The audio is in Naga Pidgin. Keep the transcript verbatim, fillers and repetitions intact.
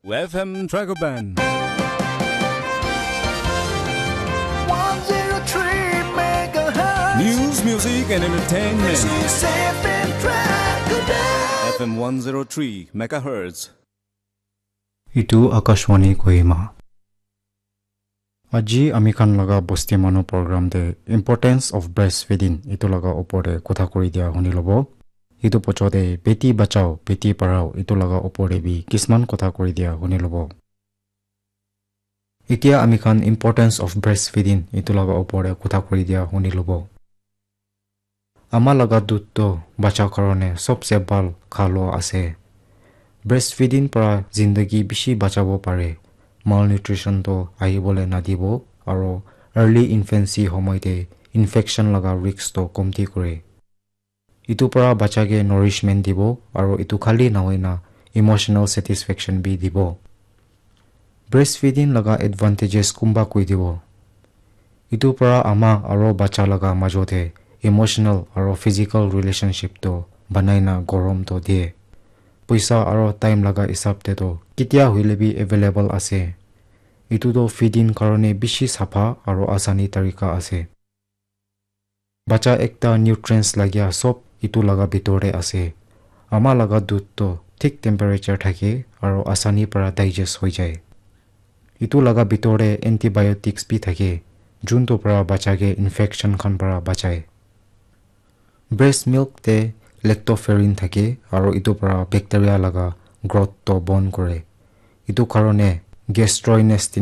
F M Dragon Band. one zero three megahertz. News, music, and entertainment. This is F M Dragon Band. F M one zero three megahertz. Itu Akashvani Kohima. Aji ami khan laga bosti manu program te importance of breastfeeding itu laga opor te kotha kuri dia huni lobo. Itu pocho te beti bachao, beti parao itu laga opor te bi kisman kotha kuri dia huni lobo. Itia ami khan importance of breastfeeding itu laga opor te kotha kuri dia huni lobo. Ama laga dudh toh bacha karone sobse bhal kha lua ase. Breastfeeding para zindagi bishi bachabo pare. Malnutrition toh ahibole nadibo aro early infancy homoi te infection laga risk toh komti kore. Itu para bacha ke nourishment dibo aro itu khali nahoina emotional satisfaction bi dibo. Breastfeeding laga advantages kumba koi dibo. Itu para ama aro bacha laga majo te emotional aro physical relationship to banai na gorom to diye. Poisa aro time laga hisab te to ketia hoile bi available ase. Itu to feeding karone bishi sapha aro asani tarika ase. Bacha ekta nutrients lagia sob itu laga bitor te ase. Ama laga dudh to thik temperature thake aro asani para digest hoi jai. Itu laga bitor te antibiotics bi thake, juntu para bacha ke infection khan para bachai. Breast milk te lactoferrin thake aro itu para bacteria laga growth to bon kore. Itu karone gastrointestinal